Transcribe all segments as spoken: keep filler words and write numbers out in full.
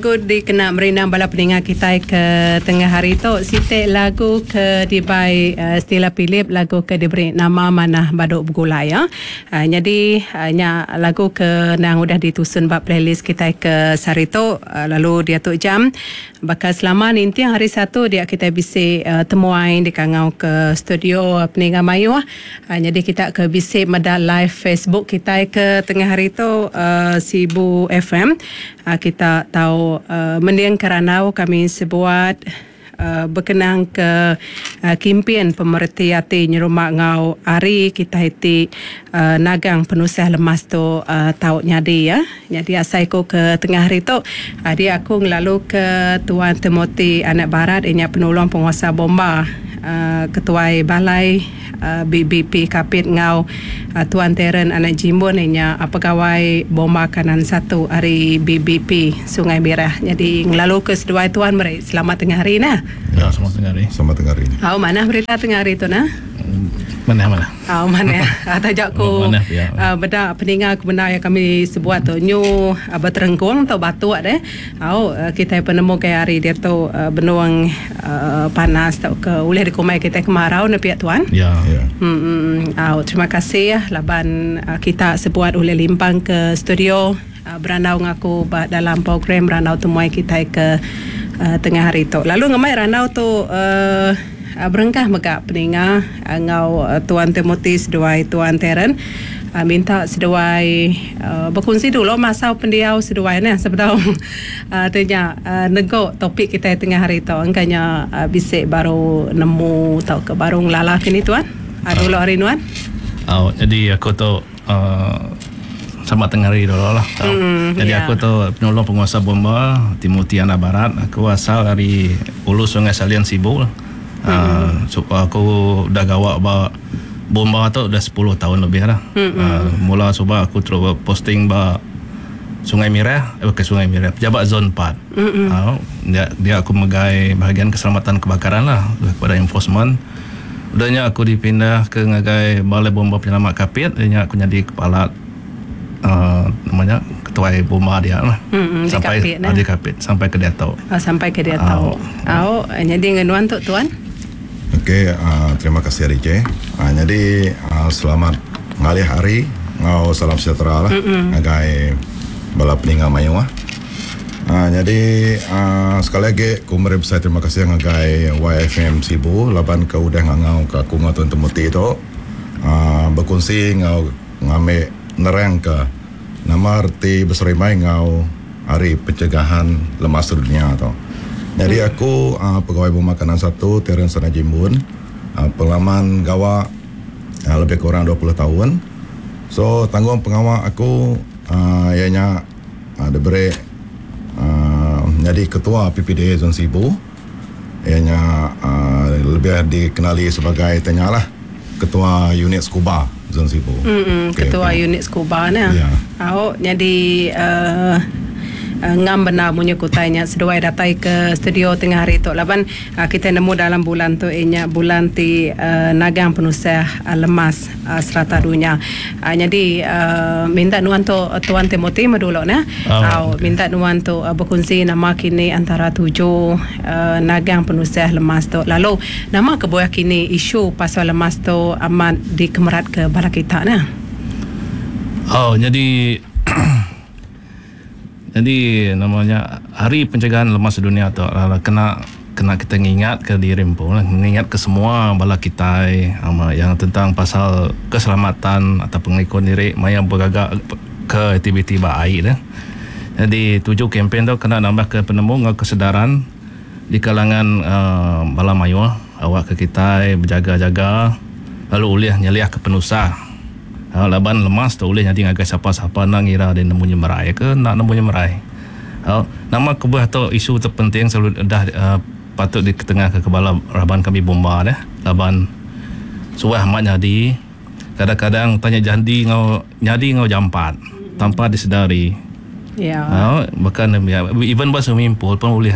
Lagu dikena merindang bala peninga kitai ke tengah hari tu siti lagu ke dibai uh, Stella Philip, lagu ke diberi nama Manah Badu Begulai ya. Uh, nyadi uh, nya lagu ke nang udah ditusun ba playlist kitai ke sehari tu, uh, lalu dia tu jam baka selama ninting hari Satu dia kita bisi uh, temuai dikangau ke studio peninga mayuh. Uh, jadi kita ke bisi meda live Facebook kita ke tengah hari tu, uh, Sibu F M, uh, kita tahu uh, mending keranau kami sebuat uh, berkenang ke uh, kimpin pemereti hati nyerumah ngau hari kita ti uh, nagang penusah lemas tu uh, tau nyadi ya. Jadi asai ku ke tengah hari tu uh, dia aku ngelalu ke Tuan Timothy Anak Barat, inya penolong penguasa bomba uh, ketuai balai uh, B B P Kapit ngau uh, Tuan Terence Anak Jimbun, inya uh, pegawai bomba kanan satu hari B B P Sungai Merah. Jadi ngelalu ke seduai tuan meri selamat tengah hari nah. Ya, selamat tengah hari. Selamat tengah hari. Oh, mana berita tengah hari tu nah? Mana mana? Oh, mana? Atau jak ku ya. uh, beda peninga aku benda yang kami sebuat tu nyu uh, berterenggung atau batuk deh. Oh, uh, kita penemu ke hari dia tu uh, benuang uh, panas tau ke ulih dikumai kita kemarau ne pihak tuan. Ya. Ya. Hmm, oh, terima kasih ya laban uh, kita sebuat ulih limpang ke studio uh, berandau ngaku dalam program Randau Temuai kita ke uh, tengah hari tu. Lalu ngemai randau tu uh, berengkah megak peninga ngau uh, Tuan Timothy seduai Tuan Terence, uh, minta seduai uh, berkongsi dulu masa pendiau seduai nah sebab uh, tanya uh, negok topik kita tengah hari tu angkanya uh, bisik baru nemu tau ke baru ngelala kini tuan. Uh, dulu hari nuan. Oh, jadi aku tu uh, sama tengah hari dulu lah. Mm, jadi yeah. Aku tu penolong penguasa bomba Timothy Anak Barat. Aku asal dari Ulu Sungai Salian Sibu lah. Mm-hmm. Uh, so aku dah gawak ba bomba tu dah sepuluh tahun lebih lah. Mm-hmm. Uh, mula cuba aku terus posting ba Sungai Merah, eh ke Sungai Merah, pejabat zon empat. Mm-hmm. Uh, dia, dia aku megai bahagian keselamatan kebakaran lah kepada enforcement. Udahnya aku dipindah ke ngagai Balai Bomba Penyelamat Kapit, dia aku jadi kepala uh, namanya ketua bomba dia lah. Mm-hmm, sampai di Kapit, nah. Di Kapit sampai ke dia tahu. Oh, sampai ke dia tahu. Oh, jadi ngenuan tu tuan. Okey, uh, terima kasih R J. Uh, jadi uh, selamat ngalih hari ngau salam sejahtera lah ngagai bala peninga mayuh. Uh, jadi uh, sekali lagi ku meri besai terima kasih ngagai Y F M Sibu laban ke udah ngangau ke aku ngau Tuan Timothy tu uh, berkongsi ngau ngambil nerang ke nama erti berserimai ngau hari pencegahan lemas dunia tu. Jadi aku uh, pegawai bomba kanan satu Terence Anak Jimbun, uh, pengalaman gawa uh, lebih kurang dua puluh tahun. So tanggung pengawal aku uh, ianya uh, diberi uh, jadi ketua P P D A Zon Sibu. Ianya uh, lebih dikenali sebagai tanyalah ketua unit scuba Zon Sibu. Mm-mm, Okay, ketua okay. Unit scuba nah. Ya. Au jadi uh, Uh, ngam benar munyi kutainya seduai datai ke studio tengah hari tu laban uh, kita nemu dalam bulan tu inya bulan ti uh, nagang penusah uh, lemas uh, serata dunia. Uh, jadi uh, minta nuan tu uh, Tuan Timothy dulu nah. Oh, uh, okay. Minta nuan tu uh, berkongsi nama kini antara tujuh uh, nagang penusah lemas tu. Lalu nama kebuah kini isu pasal lemas tu amat dikemerat ke bala kita nah. Oh, jadi jadi namanya Hari Pencegahan Lemas Sedunia tu adalah kena kena kita ngingat ke diri pun lah, ngingat ke semua bala kita ama yang tentang pasal keselamatan atau pengikut diri maya bergagak ke aktiviti baik dah. Jadi tujuh kempen tu kena nambah ke penemu ngau kesedaran di kalangan uh, bala mayuh awak ke kita berjaga-jaga lalu ulih nyeliah ke penusah. Ha, laban lemas tu boleh jadi ngagai siapa-siapa nak ngira dia nemu nyemerai ke nak nemu nyemerai. Ha, nama kebuah tu isu terpenting selalu dah uh, patut di ketengah ke kepala raban kami bomba dah. Laban suah mak jadi kadang-kadang tanya jadi ngau jadi ngau jampat tanpa disedari. Ya. Ha, bahkan ya, even bahasa swimming pool pun boleh.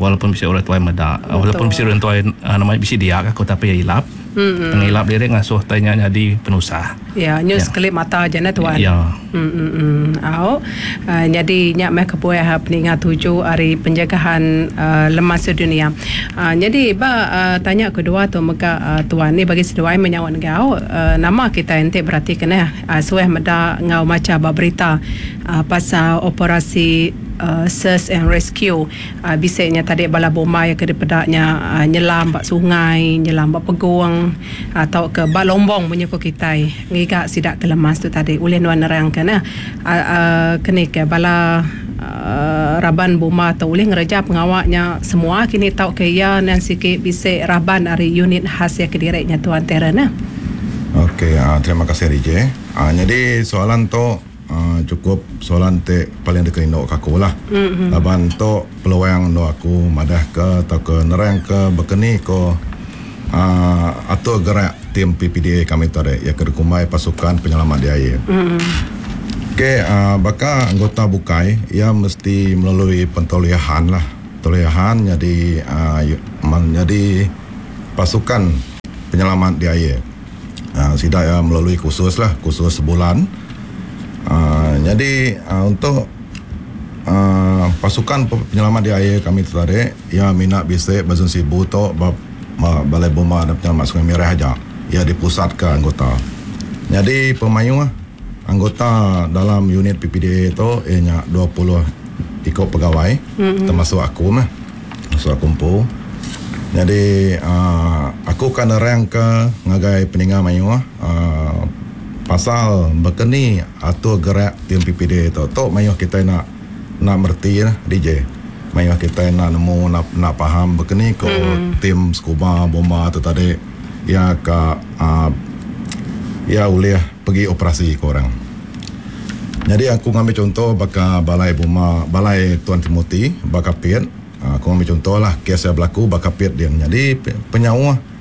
Walaupun bisa orang tua meda, walaupun bisa orang tua uh, namanya bisa dia aku tapi ya ilap. Mm-hmm. Pengilap diri ngasuh tanya jadi penusah. Ya, nyu ya. Sekelip mata aja nah tuan. Ya. Hmm hmm hmm. Au. Uh, jadi nyak meh kebuah peningat tuju hari penjagaan uh, lemas sedunia. Uh, jadi ba uh, tanya kedua tu mega uh, tuan ni bagi seduai menyawa ngau uh, nama kita ente berarti kena uh, sueh meda ngau maca ba berita uh, pasal operasi Uh, search and rescue uh, bisiknya tadi bala bomba yang kedepedaknya uh, nyelam bak sungai, nyelam bak peguang atau ke bak lombong punya ko kitai ngiga sidak ke lemas tu tadi ulih nuan nerangkan nah uh, uh, kene ke bala uh, raban bomba atau ulih ngereja pengawaknya semua kini tau ke ya nan sikit bisik raban ari unit khas ya kedireknya tuan Teren nah. Okey, uh, terima kasih D J. Uh, jadi soalan tu Uh, cukup soalan te paling dikerindu ke aku lah. Mm-hmm. Laban tu peluang nu aku madah ke atau ke nerang ke berkeni ko uh, atau gerak tim P P D A kami tadi ya ke kumai pasukan penyelamat di air. Mm-hmm. Okey, uh, baka anggota bukai ia mesti melalui pentoliahan lah. Pentoliahan jadi uh, menjadi pasukan penyelamat di air. Uh, sidak ya melalui kursus lah, kursus sebulan. Uh, jadi uh, untuk uh, pasukan penyelamat di air kami tertarik ya minat bisik Bazun Sibu tu Balai Bomba dan Penyelamat Sungai Merah aja ya dipusat ke anggota. Jadi pemayu anggota dalam unit P P D A tu ianya dua puluh ikut pegawai, mm-hmm. termasuk aku mah, termasuk aku empu. Jadi uh, aku kan nerang ke ngagai peninga mayu uh, pasal berkeni atau gerak tim P P D A tu. Tok mayuh kita nak nak merti lah D J. Mayuh kita nak nemu nak nak faham berkeni ko mm. tim scuba bomba tu tadi ya ke uh, ya boleh pergi operasi ke orang. Jadi aku ngambil contoh baka balai bomba balai Tuan Timothy Bakapit. Aku ngambil contoh lah kes yang berlaku Bakapit dia. Jadi penyawa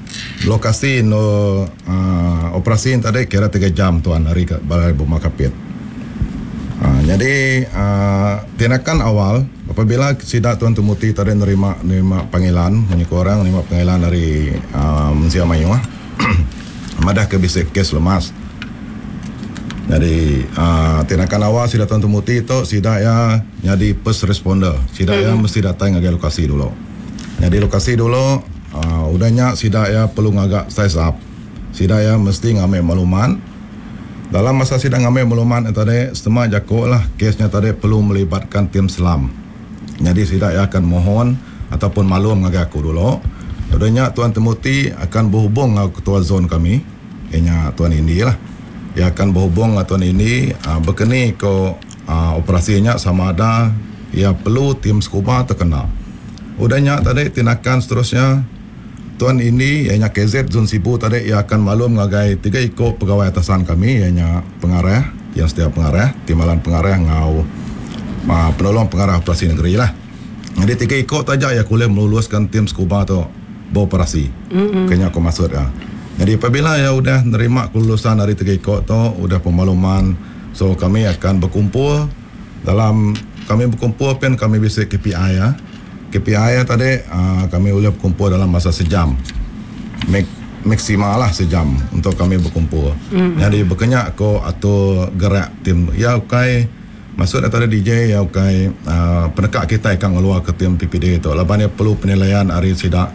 lokasi no uh, operasi yang tadi kira tiga jam tuan hari ke Balai Bomba Kapit. Uh, jadi uh, tindakan awal apabila sidak Tuan Timothy tadi nerima nerima panggilan menyuku orang nerima panggilan dari uh, Mensia Mayuh madah ke bisik kes lemas. Jadi uh, tindakan awal sidak Tuan Timothy itu sidak ya jadi first responder. Sidak ya hmm. mesti datang ke lokasi dulu. Jadi lokasi dulu Uh, udahnya sidak ya perlu ngagak size up. Sidak ya mesti ngambil maklumat. Dalam masa sidak ngambil maklumat tadi setengah jakok lah kesnya tadi perlu melibatkan tim selam. Jadi sidak ya akan mohon ataupun maklum ngagai aku dulu. Udahnya Tuan Timothy akan berhubung dengan ketua zon kami, ianya Tuan Indi lah. Ia akan berhubung dengan Tuan Indi uh, berkeni ke uh, operasinya sama ada ia perlu tim scuba terkena. Udahnya tadi tindakan seterusnya Tuan ini ianya K Z Zon Sibu tadi ia akan maklum ngagai tiga ikut pegawai atasan kami ianya pengarah yang setiap pengarah timbalan pengarah ngau uh, penolong pengarah operasi negeri lah. Jadi tiga ikut saja ia boleh meluluskan tim scuba tu beroperasi. Mm-hmm. Kayaknya aku maksud ya. Jadi apabila ia udah nerima kelulusan dari tiga ikut tu udah pemakluman, so kami akan berkumpul dalam kami berkumpul pen kami bisa K P I ya. K P I tadi uh, kami boleh berkumpul dalam masa sejam. Mak- maksimal lah sejam untuk kami berkumpul. Mm-hmm. Jadi berkenyak ko atau gerak tim ya ukai maksud tadi D J ya ukai uh, penekak kita akan keluar ke tim P P D A tu. Laban dia perlu penilaian hari sidak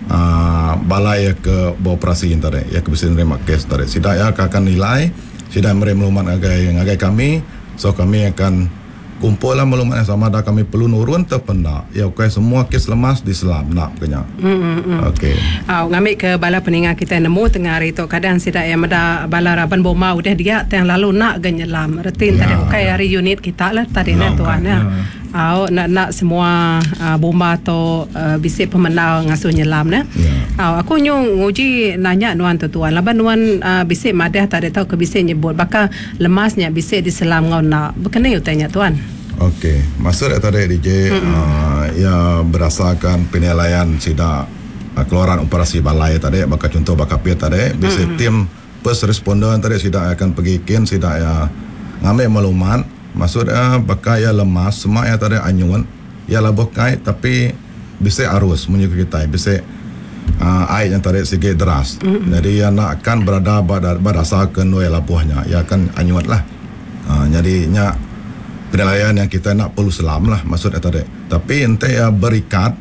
uh, balai ke beroperasi tadi ya ke bisa nerima kes tadi. Sidak ya akan nilai sidak meri maklumat ngagai ngagai kami, so kami akan kumpul lah maklumat yang sama dah kami perlu nurun terpendak. Ya okey semua kes lemas di selam nak kena. Hmm. Okey. Ah ngambil ke bala peninga kita nemu tengah hari tu kadang sidak yang meda bala raban bomba udah dia tang lalu nak ge nyelam. Reti tadi okey hari unit kita lah tadi nah tuan ya. Au nak nak semua uh, bomba tu uh, bisik pemenang ngasuh nyelam nah. Ya. Au aku nyung nguji nanya nuan tu tuan. Laban nuan uh, bisik madah tadi tau ke bisik nyebut bakal lemasnya bisik di selam ngau nak. Bekene utanya tuan. Okey, maksud tadi D J uh, ya berdasarkan penilaian sidak uh, keluaran operasi balai tadi bakal contoh bakal pia tadi bisa mm-hmm. tim first responder tadi sidak akan pergi kin sidak ya ngambil maklumat maksud uh, bakal ya lemas semua ya tadi anyun ya labuh kai tapi bisa arus menyukai kita bisa uh, air yang tarik sikit deras. Mm-hmm. Jadi ia nak akan berada pada berdasar ke nuai labuhnya, ia akan anyut lah. Uh, jadi nya penilaian yang kita nak perlu selam lah maksudnya tadi. Tapi ente ya berikat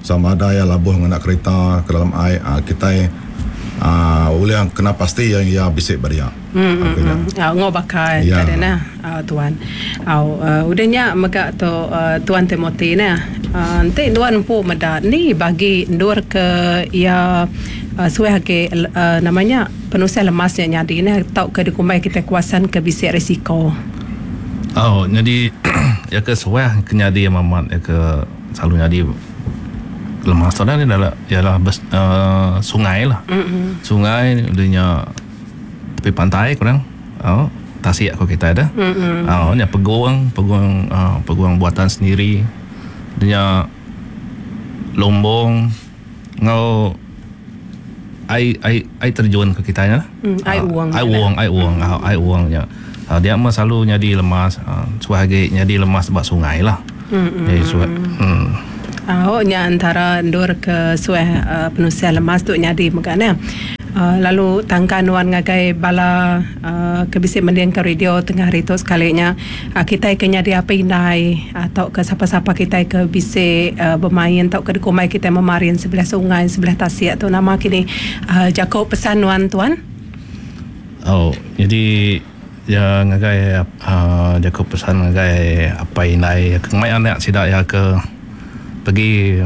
sama ada ya labuh ngena kereta ke dalam air, uh, kita uh, boleh yang kena pasti yang ia bisik beria. Hmm, hmm, hmm. Uh, ngo bakal ya. Tadi nah uh, tuan. Au uh, udahnya mega tu uh, tuan Timothy nah. Uh, ente tuan empu meda ni bagi ndur ke ia uh, suai ke uh, namanya penusah lemasnya nyadi ni tau ke dikumbai kita kuasan ke bisik risiko. Oh, jadi ya ke suai ke nyadi mamat ya ke selalu nyadi lemas tu ni adalah ialah bes, uh, sungai lah. Mm-hmm. Sungai udahnya tepi pantai kurang. Oh, tasik aku kita ada. Mm-hmm. Oh, nya peguang, peguang uh, peguang buatan sendiri. Dia lombong ngau ai ai ai terjun ke kita nya. Mm, ai uang. Ai uang, ai uang, ai uang nya. Dia mah selalu nyadi lemas, uh, suah lagi nyadi lemas bak sungai lah. Mm-hmm. Jadi suah, mm. Oh, nya antara ndur ke suah uh, penusia lemas tu nyadi megana. Uh, lalu tangkan wan ngagai bala uh, ke bisi mending ke radio tengah hari tu sekalinya uh, kita ke nyadi apa indai atau ke siapa-siapa kita ke bisi uh, bermain atau ke dikumai kita memarin sebelah sungai sebelah tasik tu nama kini uh, Jacob pesan wan tuan. Oh, jadi ya ngagai uh, Jacob pesan ngagai apa indai ke mai anak sidak ya ke pergi